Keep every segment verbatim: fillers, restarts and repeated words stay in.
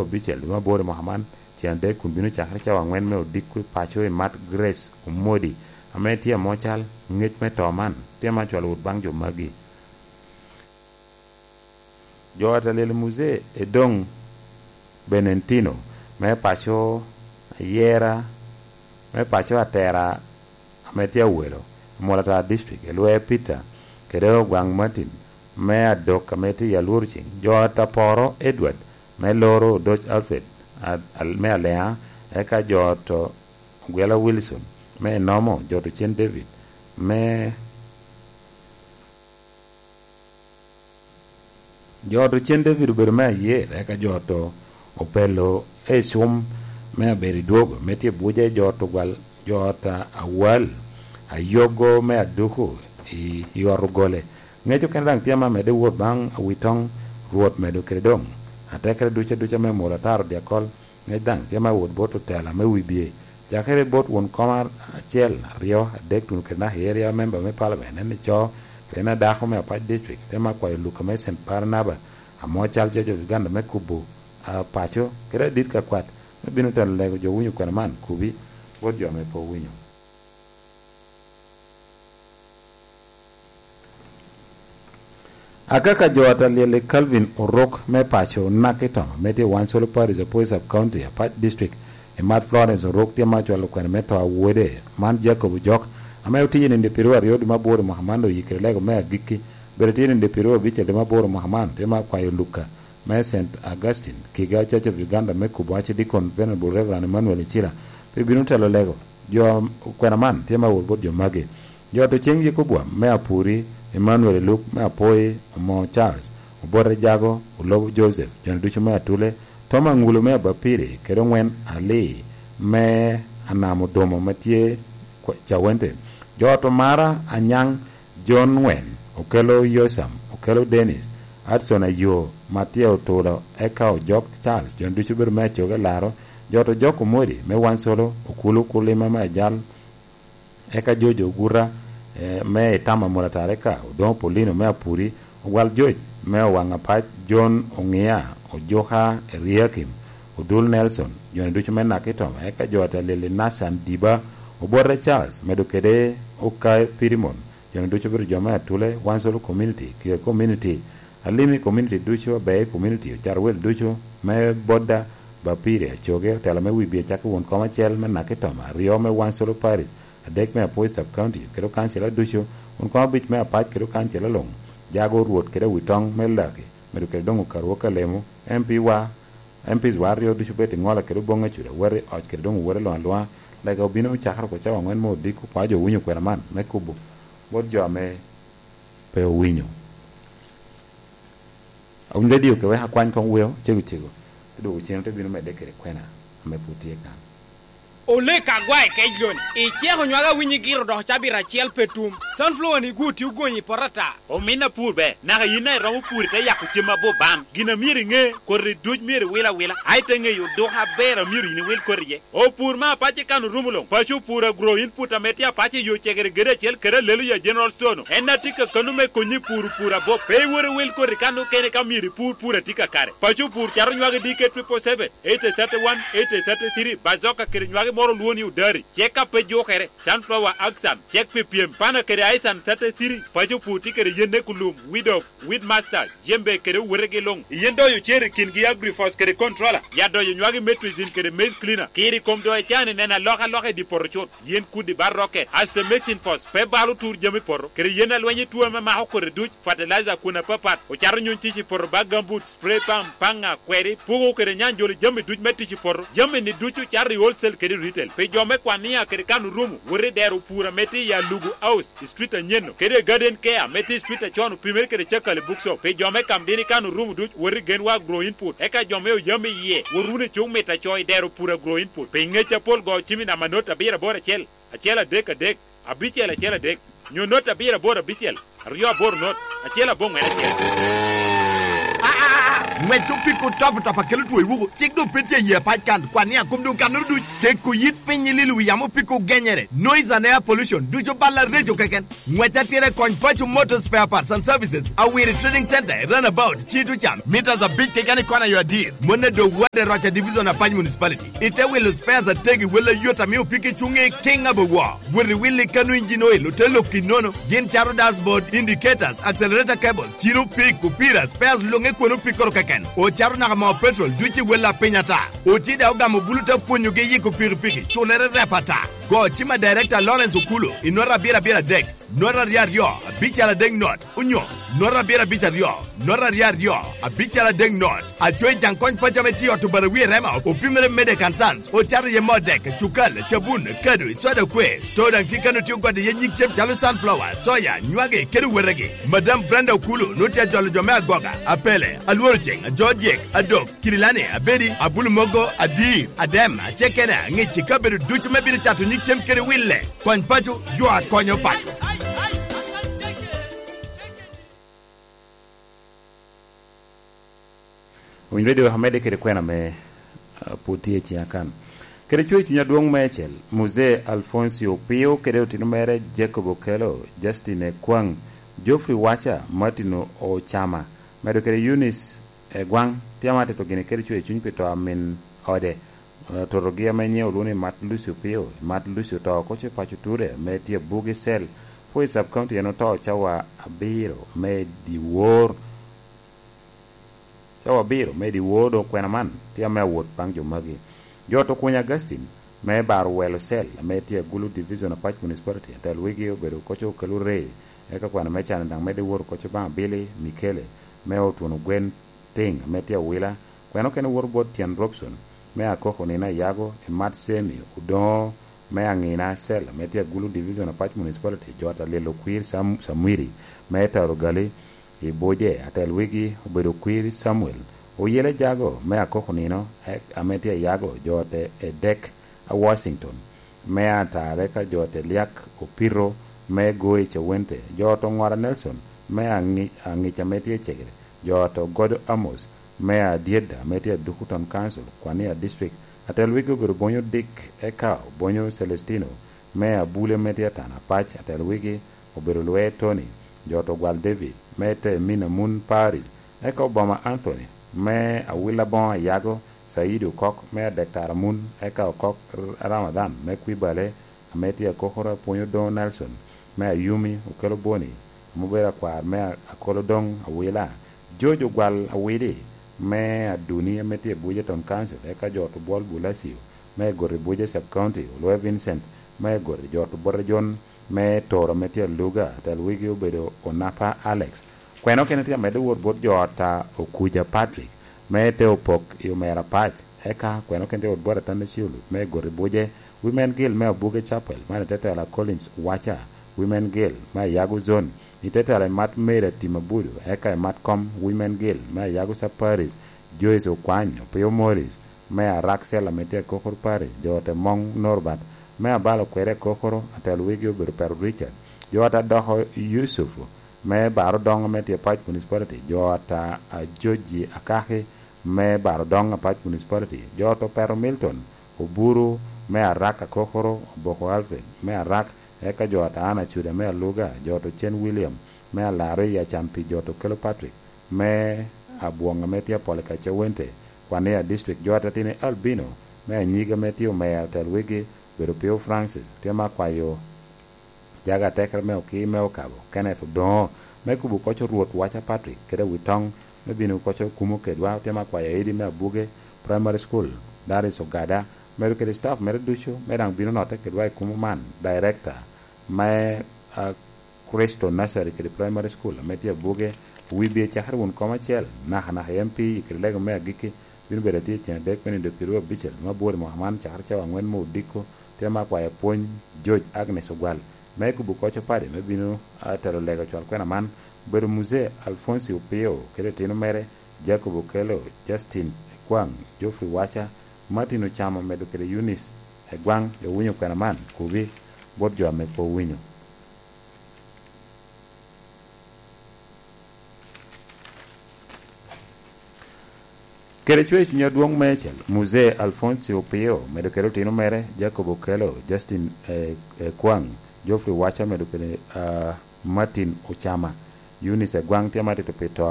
Abicel dwe me aboro i mwaka man, ceng adek kun bino cakere cawa angwen me odiko i paco i mat Grace Omodi, ame tye amo cal ngec me to man, tye ma cwalo wot baŋ jo magi. Jo ata lyel Muzee Edong Benentino me paco Ayera, me paco Atera ame tye Awelo, Amolatar District, Elwee Peter, kede Ogwaŋ Martin me Adok ame tye i Alwor Cing, jo ata Poro Edward me Loro, Odoc Alfred a-, al-, me Aleŋa, eka jo ata Ogwela Wilson me Enomo, jo ata Cen David me Jo ot ocen David obedo me ayer, eka jo ot opelo Ecum me abedo i dwogo, me tye Buja, jo ot ogwal, jo ot a-, awal, ayogo me aduku i, i ot ogole. Ŋec okene daŋ tye ame amedde wot baŋ awitoŋ Rwot medo kede doŋ atekere ducu aduca me mulo ataro dyakol. Ŋec daŋ tye me wot bot otela me wibye, cakere bot won koma acel, aryo, adek, tuno kede naka i area member me parliament, en ico, kede en adako me Apac District, tye me akwayo Luka me Saint Barnaba, amo cal Church of Uganda me kubo, a, paco, kede adit ka kwat, me bino telo lego jo winyo kwena man, kubi, bot jo ame pe owinyo. Akaka jo ata lyel i Calvin Orok me paco Nakitoma, me tye Wansolo Parish, Apoi Sub County, Apac District, i mat Florence Orok tye ma ocwalo kwene me to a wode, man Jacob Ojok, ame otiyo i nino pyeraryo aryo dwe me aboro i mwaka man, oyikere lego me agikki, bene tye i nino pyeraryo abicel dwe me aboro i mwaka man, tye ma akwayo Luka me Saint Augustine, Kiga Church of Uganda, me kubo Archdeacon Venerable Reverend Emmanuel Icira, pe bino telo lego jo kwena man tye me awot bot jo magi. Jo ot ocen Yekobwa me Apuri, Emmanuel Eluk me Apoi, Omo Charles, Obote Jago, Olobo Joseph, joni ducu me Atule, Tom Aŋulo me Abapiri, kede Oŋwen Ali me Anam Odomo me tye Kwa-, Cawente. Jo ot Omara Anyaŋ, John Ŋwen, Okello Yosam, Okello Dennis, Hudson Ayo, Mattia Otulo, eka Ojok Charles, joni ducu bedo me Acoge Laro, jo ot Ojok Omodi me Wansolo, Okulu Kulima me Ajal, eka George Oguta, eh, me Itama Mulatar, eka Odoŋo Paulino me Apuri, Ogwal George me Owaŋapac, John Oŋia, Ojuka Eriakim, Odul Nelson, joni ducu me Nakitoma, eka jo ot Alili Nathan Diba, Obote Charles, medo kede Okai Pirimon, joni ducu obedo jo me Atule, Wansolo Community, Kiga Community, Alimi Community ducu, Abei Community, Ocarwel ducu me Boda, Bapiri, Acoge, otela me Wibye, cakki won kom acel me Nakitoma, aryo me Wansolo Parish, adek me Apoi Sub County, kede okancila ducu, won kom abic me Apac kede okancila luŋ, Jago, Rwot kede Awitoŋ me Laki, medo kede doŋ Okarwo Kalemo, M P wa, M Ps wa aryo ducu obed i ŋola kede oboŋ acuda, wot i oc kede doŋ owote luŋ aluŋa. Lega obino me cakere oko cawa aŋwen me odiko, kwa jo owinyo kwena man me kubo bot jo ame pe owinyo. Awinyo radio ke wek akwany koŋ weo cego cego, te dwogo cen te bino medde kede kwena ame pwod tye kan. Olek agwae kec loni, iceko nywage awinyo igiro dok cabit acel pe tum. Sunflower ni gwo tye ogonyi i poto ata. Omin apur ber, naka yin daŋ iromo pur ite yako cem abop bam. Gin a myero iŋe, koti duc myero iwil awila, a ite ŋeyo oduka aber a myero yin iwil koti iye. Opur me apac i kan orumo luŋ, paco opur agro input ame tye apac i yo cegere gedo acel kede alelo ya General Store-nu. En a tye kakano me konyi i pur opur abop. Pe iwot iwil koti kan okene ka myero ipur pur a tye kakare. Paco opur cato nywage D K triple seven, eighty thirty-one, eighty thirty-three, bazoka kede nywage moro olwongo ni odari. Cek ka pe jukere, sunflower axan, cek pi pyem, pana kede aisan thirty-three, paco pur tye kede yenne kulum, weed of, weed master, jembe kede owetegi luŋ. Yen doyo cer i kingi agrifos kede controller, ya doyo nywagi metrizin kede maize cleaner. Kiri kom doyo can i neno alokaloka i di poto cut, yen kudi bar rocket, aste mexin fos, pe balo tur jami poto, kede yen alweny i tuo ame mako kote duc, fertilizer kun apapat, ocato nyuŋ tic i poto ba gambut, spray pump, paŋa, kweri, pugo kede nyanjolo jami duc me tic i poto. Jami-ni ducu cato i wholesale kede retail. Pi jo me Kwania kede Kano Rumu, wot i dero pur ame tye i Alugu House, i street anyen-nu, kede i Garden Care ame tye i street acon opimere kede Cakali Bookshop. Pi jo me Kamdini Kano Rumu duc, wot i Genwa Agro Input. Eka jo me Oyam iye, wot wunu i Cuk Mit Aco i dero pur Agro Input. Pi ŋec apol go cim i namba not abiro aboro acel, acel adek adek, abicel acel adek, nyo not abiro aboro abicel, aryo aboro not, acel aboŋwen acel. Ngwec opiko top top akelo two i wuku. Cik doŋ pe tye i yie pac kan. Kwan ni akom doŋ kannoro duc. Keko yit piny i lilo wi yamo opiko genyere. Noise and air pollution. Ducu balla reco keken. Ngwec atira i kony Paco Motor Spare Parts and Services. Awiri Trading Center, Runabout, Cito Cam. Meters abic keken i kona yo adir. Mon a doŋ wade roca Division Apac Municipality. Ite wilo spares ategi wel ayot ame opiko i cuŋe i kiŋ abowo. Wot i willi kano engine oil, ote lok i nono. Gin cato dashboard, indicators, accelerator cables, cino pik, opira, spares luŋe kwon opikkoro keken. Ocato naka moo petrol, duc i wel a piny ata. Oti daŋ ogamo bulu te pwonyogi yiko pikipiki, culere rep ata. Go cima Director Lawrence Okulu, i nota abiro abiro adek, nota aryo aryo, abical adek not, onyo nota abiro abic aryo, nota aryo aryo, abical adek not. Acoyi Jaŋ Kony Paco ame tye i ot Obarawi i Rema, opimere Medek and Sons, ocato iye moo dek, cukal, cabun, kado, soda kwe. Store daŋ tye kano tye ogode iye nyig cem calo sunflower, soya, nywagi, kede wetegi. Madam Brenda Okulu nwoŋo tye ajolo jo me Agoga, Apele, Alworo Ceŋ, Ajo Dyek, Adok, Kirilani, Abedi, Abulu Mogo, Adir, Adem, Acekena, Ŋic i kabedo ducu me bino cato nyig cem kede wille. Kony paco, jo a konyo paco. Winy Radio amedde kede kwena me, ah, pwod tye i ciŋa kan. Kede cwer cuny adwoŋ meicel, Muzee Alfonsi Opio kede otino mere Jacob Okello, Justin Ekwaŋ, Geoffrey Wacha, Martin Ocama, medo kede Eunice Egwaŋ, tye ama atito gini kede cwer cuny pi to a min ode, eh, totogi ame nyiŋe olwoŋo ni Mat Lucy Opio, Mat Lucy oto oko ce paco Ture, ame tye Abugi Cell, pwod i sub-county en oto cawa abiro me dyewor. Cawa abiro me dyewor doŋ kwena man tye ame awot baŋ jo magi. Jo to Okuny Augustine me Baro Welo Cell ame tye Agulu Division Apac Municipality, atel wigi obedo koco kelo ree, eka kwena me can daŋ medde wot koco baŋ Abili Mikele me Otuno Gwen Tiŋ ame tye Awila, kwena okene wot bot Tyen Robson me Akoko Nino Ayago, Emat Semi Odoŋo me Aŋina Cell ame tye Agulu Division Apac Municipality, jo ata Lilo Kwir Sam-, Samwiri me Taro Gali, i Buje, atel wigi obedo Kwir Samuel Oyele Jago me Akoko Nino, e-, ame tye Ayago, jo te Edek a Washington me Atare, ka jo te Liak Opiro me Goi Cawente, jo to Ŋora Nelson me Aŋi-, Aŋica ame tye Cegere, jo to Godo Amos me Adyeda ame tye Aduku Town Council, Kwania District, atel wigi obedo Bonyo Dick, eka Bonyo Celestino me Abule ame tye Atana Pac, atel wigi obedo Lwe Tony, jo to Gwal David me Temina Mun Paris, eka Obama Anthony me Awila Boŋo Ayago, Saidi Okok me Adek Tara Mun, eka Okok R-, Ramadhan me Kwibale, ame tye Akokoro Apwonyo Doŋo Nelson me Ayumi, Okelo Boni, ame obedo akwar me A-, Akolo Doŋ Awila, George Ogwal Awidi me Aduni ame tye Abuja Town Council, eka jo to Bwol Bulacio me Egoti Abuja Sub County, Olwe Vincent me Egoti, jo to Bote Jon me Toro ame tye Aluga, atel wigi obedo Onapa Alex. Kwena okene tye amedde wot bot jo ot a Okuja Patrick me te Opok i Omera Pac, eka kwena okene tye wot bot Atanda Ciulu me Egoti Buje, Women Guild me Abuge Chapel, man i te tela Collins Wacha, Women Guild me Ayago Zone, i te tela Emat Mary Atim Abudu, eka Emat Kom Women Guild me Ayago Sub Parish, Joyce Okwany, Opio Morris me Arak Cell ame tye Akokoro Parish, jo ot a Moŋ Norbert me Abalo Kwere Akokoro, atel wigi obedo Pero Richard, jo ot a Doko Yusuf me Baro Doŋ ame tye Pac Municipality, jo ot a Ajoji Akaki me Baro Doŋ Apac Municipality, jo ot a Pero Milton Oburu me Arak Akokoro, Oboko Alfred me Arak, eka jo ot a Ana Cuda me Aluga, jo ot a Ocen William me Alaro i Acampi, jo ot a Okelo Patrick me Abwoŋ ame tye Apolika Cawente, Kwania District, jo ot a Tini Albino me Anyiga ame tye Omera, atel wigi obedo Pio Francis, tye me akwayo jaga atekere me Okii me Okabo, Kenneth Odoŋo, me kubo koco Rwot Wacha Patrick, kede Witoŋ, me bino koco kumo kedwa, tye me akwayo Edi me Abuge Primary School, Darius Ogada, medo kede staff mere ducu, me daŋ bino notte kedwa i kumo man, Director me, ah, Crystal Nursery kede Primary School, ame tye Abuge, wibye cakere wun kom acel, naka naka i M P kede lego me agikki, bino bedo atye i ceng adek me nindo pyeraryo abicel me abwor i mwaka man, cakere cawa aŋwen me odiko, tye me akwayo pwony, George Agnes Ogwal, me kubo koco padi, me bino, ah, telo lego cwal kwena man, obedo Muzee Alfonsi Opio, kede tino mere, Jacob Okello, Justin Ekwaŋ, Geoffrey Wacha, Martin Ocamo, medo kede Eunice Egwaŋ, owinyo kwena man, kubi bot jo ame pe owinyo. Kede cwer i cunya dwong meicel, Muzee Alfonsi Opio, medo kede otino mere, Jacob Okello, Justin, eh, eh, Kwang, Geoffrey Wacha, medo kede, ah, Martin Ocama, Eunice Agwang tye ma tito pi to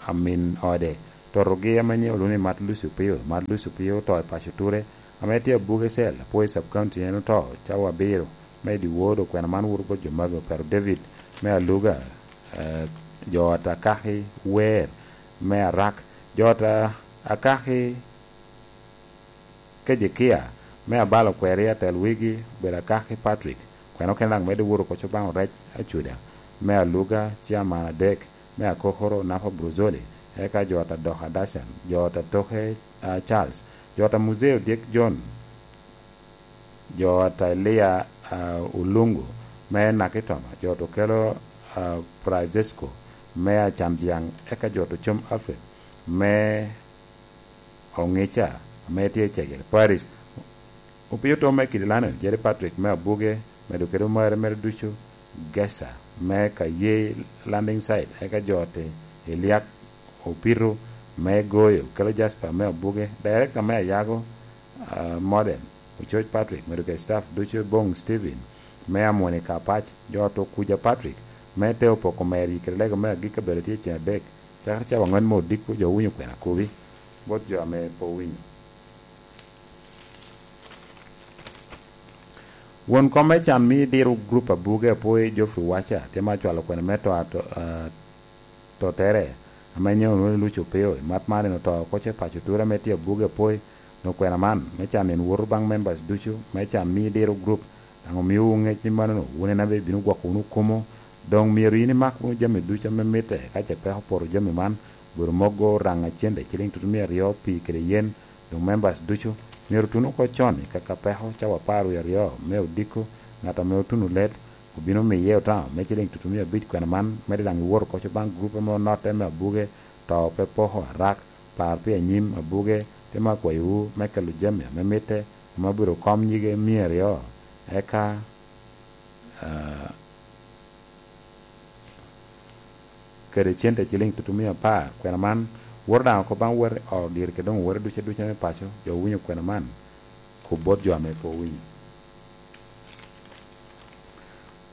a min ode. Totogi ame nyiŋe olwoŋo ni Mat Lucy Opio. Mat Lucy Opio oto i paco Ture, ame tye Abuge Cell, Apwoyo Sub County, en oto cawa abiro me i dyewor. Okwena man woto bot jo magi: Opero David me Aluga, eh, jo ata Kaki Wer me Arak, jo ata Akaki Kejekia me Abalo Kweri, atel wigi obedo Akaki Patrick. Kwena okene daŋ medde woto oko coban Orec Acuda me Aluga, Ciaman adek me Akokoro, Nafa Bruzoli, eka jo ata Doka Dashan, jo ata Toke, ah, Charles, jo ata Muzee Odyek John, jo ata Elia, ah, Olungu me Nakitoma, jo ata Okelo, ah, Francesco me Acan Dyaŋ, eka jo ata Ocom Alfred me Oŋica ame tye i Cegere Parish. Opio Tom me Kidilano, Jerry Patrick me Abuge, medo kede omare mere ducu, Gesa me Kaye Landing Site, eka jo ata Eliak Opito me Goyo, Kelo Jasper me Abuge, Director me Ayago, ah, Modern, Ococ Patrick, medo kede staff ducu, Bong Steven me Amoni Kapac, jo ata Okuja Patrick me Teo Poko Meri, kede lego me agikki abedo tye ceng adek, cakere cawa aŋwen me odiko, jo owinyo kwena kobi, bot jo ame pe owinyo. Won kom me can mio diro gurup Abuge Apwoyo, Geoffrey Wacha, tye ma cwalo kwena me to ato-, ah, totere, ame nyiŋe onwoŋo ni Lucio Opio. I mat man en oto oko ce paco Ture ame tye Abuge Apwoyo. Okwena man me can en woto baŋ members ducu me can mio diro gurup, daŋ omiowu ŋec ni manono, wun en ame ibino gwoko wunu kumo. Doŋ myero yin imak wunu jami ducu ame mitte, ka ce peko poto jami man, obedo mogo, raŋa cente ciliŋ tutumia aryo, pii kede yen, doŋ members ducu myero otun oko con i kaka peko cawa apar wie aryo me odiko. Ŋat ame otuno let obino miye otamo me ciliŋ tutumia abic kwena man, medde daŋ iwot oko co baŋ gurup ame onotte me Abuge, to pe poko Arak, par pi anyim Abuge, tye ma akwayowu me kelo jami ame mitte, ame obedo kom nyige mia aryo, eka, ah, kede cente ciliŋ tutumia apar. Kwena man woto daŋ oko baŋ wot i ot diro kede doŋ owote duca duca me paco, jo owinyo kwena man, kub bot jo ame pe owinyo.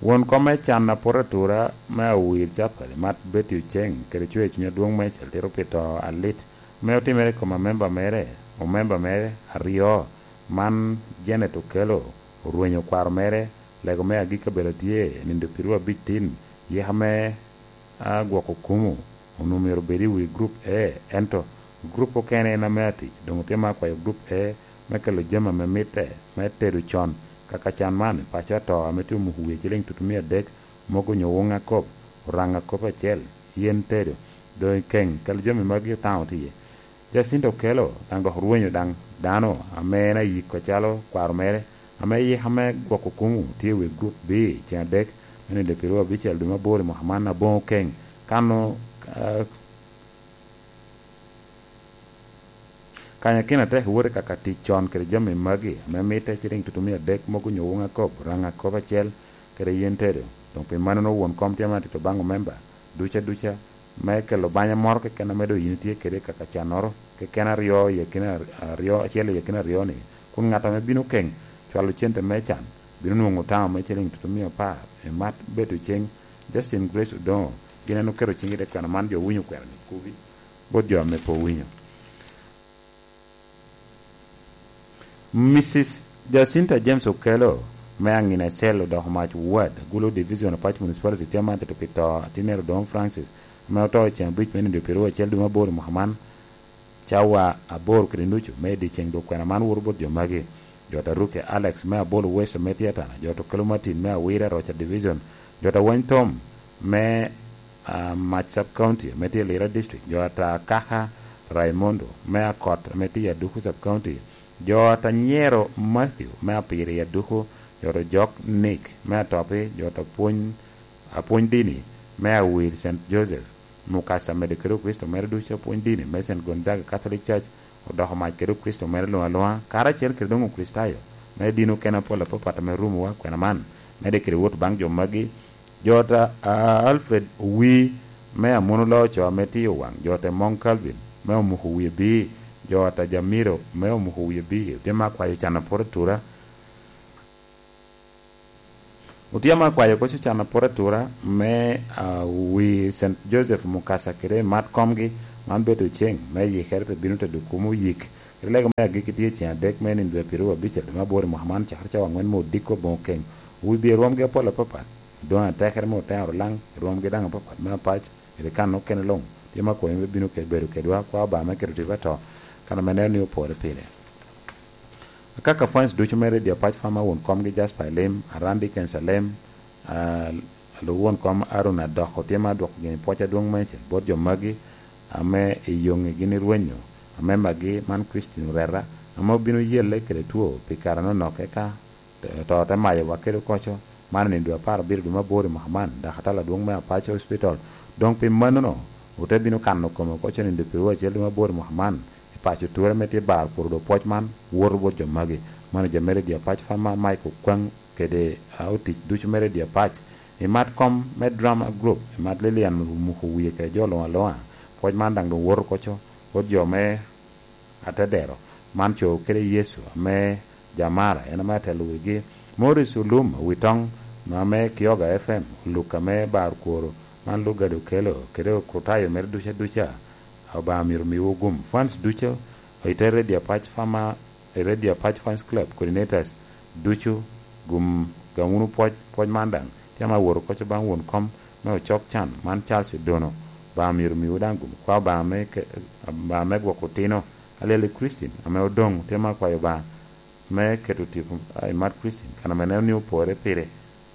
Won kom me can apoto atura me Awir Capel, Mat Betty Oceng, kede cwer i cuny adwoŋ meicel tito pi to alit ame otimere i kom amemba mere, omemba mere aryo, man Janet Okello, orwenyo kwaro mere, lego me agikki abedo tye nindo piru abic tin, yika me, a, gwoko kumo onwoŋo myero obed i wi gurup A, ento gurup okene en ame atic, doŋ otye ma akwayo gurup A me kelo jami ame mitte me tedo con, kaka can man, paco ato ame tye omuko wie ciliŋ tutumia adek, mogo nyo woŋ akop, oraŋ akop acel, yen tedo, doŋ i keŋ kelo jami magi otamo tye iye. Jacinto Okello daŋ dok orwenyo daŋ dano ame en ayiko acalo kwaro mere, ame yika me gwoko kumo tye i wi gurup B, ceŋ adek, me nindo piru abicel dwe me aboro i mwaka man aboŋo keŋ. Kano, ah, kanyo kino atek iwot i kaka tic con kede jami magi, ame mitte ciliŋ tutumia adek, mogo nyo woŋ akop, raŋ akop acel, kede yen tedo. Doŋ pi mannono won kom tye ma tito baŋ omemba duca duca, me kelo banya moro keken ame doŋ yin itye kede i kaka cannoro keken aryo i akina ar-, aryo, acel i akina aryo-ni, kun ŋat ame bino keŋ cwalo cente me can bino nwoŋo otamo me ciliŋ tutumia apar. I mat bedo ceŋ, Justin Grace Odoŋo, gin en oketo ciŋge i te kwena man, jo owinyo kwena-ni kubi bot jo ame pe owinyo. Misis Jacinta James Okello me Aŋina Ecel odoko mac Ward, Gulu Division, Apac Municipality, tye ma tito pi to atinere Odoŋo Francis, ame oto i ceŋ abic me nindo piru acel dwe me aboro i mwaka man, cawa aboro kede nucu me dyeceŋ. Dok kwena man woto bot jo magi: jo ata Ruke Alex me Abolo West ame tye Atana, jo ata Okello Martin me Awira, Roca Division, jo ata Wany Tom me, ah, Mac Sub County ame tye Lira District, jo ata Kaka Raimondo me Akot ame tye i Aduku Sub County, jo ata Nyero Matthew me Apiri i Aduku, jo ata Jok Nick me Atopi, jo ata Pwony, Apwony Dini me Awil Saint Joseph, Mukasa medo kede Okricito mere ducu, Apwony Dini me Saint Gonzaga Catholic Church, odoko mac kede Okricito mere luŋ aluŋa, karacel kede doŋ Okricitayo me dini okene apol apapat ame rumowa. Kwena man medde kede wot baŋ jo magi: jo ata, a, Alfred Owii me Amono Loco ame tiyo waŋ, jo ata Mong Calvin me Omuko Wie Bii, jo ata Jamiro me omuko wie bigi, otye ma akwayo can aporo atura. Otye ma akwayo koc ocan aporo atura me, ah, wi Saint Joseph Mukasa kede mat komgi, man bedo ceng me yikere pi bino tedo kumo yik. Kede lego me agikki tye ceng adek me nino dwe pirwa abic dwe me aboro i mwaka man, cakere cawa angwen me odiko boŋo keny. Wi bye rwomgi apol apapat, doŋ atekere me otero laŋ, rwomgi daŋ apapat me apac, kede kan okene luŋ. Tye ma akwayo me bino kede bedo kedwa, kwa Obaŋa me keto tipo ato, kan ame neno ni opore pire. Akaka fans ducu me Radio Apac Fama, won komgi Jasper Alim, Aran Dickens Alem, ah, luwon kom Aaron Adoko, tye ma adwoko gini pwoc adwoŋ meicel bot jo magi ame i yoŋe gin i rwenyo, ame magi man Christine Oreta, ame obino yelle kede two pi kare anonok, eka to, to te mayowa kede koco, man i nino dwe apar abiro dwe me aboro i mwaka man, dakatari adwoŋ me Apac Hospital. Doŋ pi mannono, ote bino kano kome koco i nino dwe pirwa acel dwe me aboro i mwaka man, i paco Ture ame tye bar kuro dok pwoc man woto bot jo magi. Manager me Radio Apac Fama Mike Okwaŋ kede, ah, otic ducu me Radio Apac. I mat kom me drama group, i mat Lilian Muko Wie kede jo luŋ aluŋa, pwoc man daŋ doŋ woto koco bot jo me Atedero, man co kede Yecu ame Jamara, en ame atelo wigi. Morris Olum, Witoŋ, ame Kioga F M, Luka me bar kworo, man Lugado kelo, kede okutayo mere duca duca, Obaŋa myero miwu gum. Fans ducu, i te Radio Apac Fama, Radio Apac Fans Club, coordinators ducu, gum, gam wunu pwoc, pwoc man daŋ. Tye ame awoto koco baŋ won kom me ocok can, man Charles Odono, Obaŋa myero miwu daŋ gum. Kwa Obaŋa me ke-, Obaŋa me gwoko otino, Alyel i Christine, ame odoŋ, tye ma akwayo Obaŋa me keto tipo, a, i mat Christine, kan ame neno ni opore pire.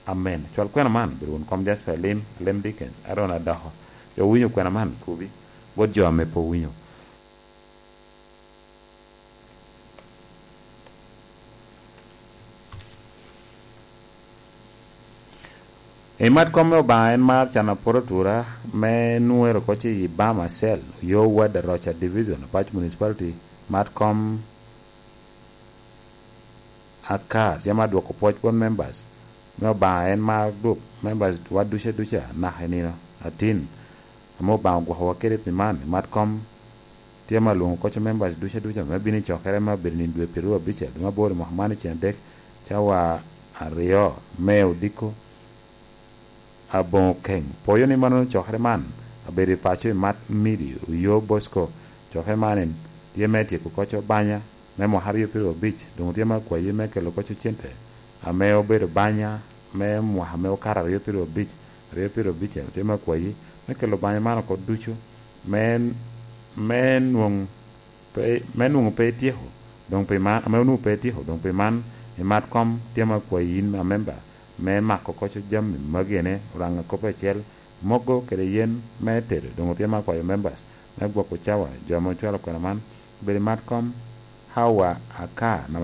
Amen. Cwal kwena man, bedo won kom Jasper Alim, Alem Dickens, Aaron Adoko. Jo owinyo kwena man, kobi bot jo ame pe owinyo. I mat kom me Obaŋa en mar can aporo atura me nwero koc i Bama Cell, yo Wad Aroca Division, Apac Municipality, mat kom Akar, tye ma dwoko pwoc bot members me Obaŋa en mar group members wa duca duca naka i nino atin ame Obaŋa ogwokowa kede pi man. I mat kom, tye ma lwoŋo koc members duca duca me bino i cokere me abedo nino dwe pirwa abic dwe me aboro i mwaka man i ceng adek, cawa aryo me odiko aboŋo keny. Poyo ni mano cokere man abedo i paco i mat midi Oyo Bosco. Cokere man en tye me tyeko koc banya me mwaka aryo pirwa abic, doŋ tye me akwayi me kelo koc cente ame obedo banya me mwaka me okato aryo pirwa abic, aryo pirwa abic, tye me akwayi me kelo banya man oko ducu me, me nwoŋ pe, me nwoŋo pe ityeko, doŋ pi man, ame onwoŋo pe ityeko, doŋ pi man, i mat kom, tye ma akwayi yin amemba me mako koc jami magi ene, Oraŋa kop acel, mogo kede yen me tedo, doŋ otye ma akwayo members me gwoko cawa, jo ame ocwalo kwena man, obedo i mat kom, Hawa Aka, namba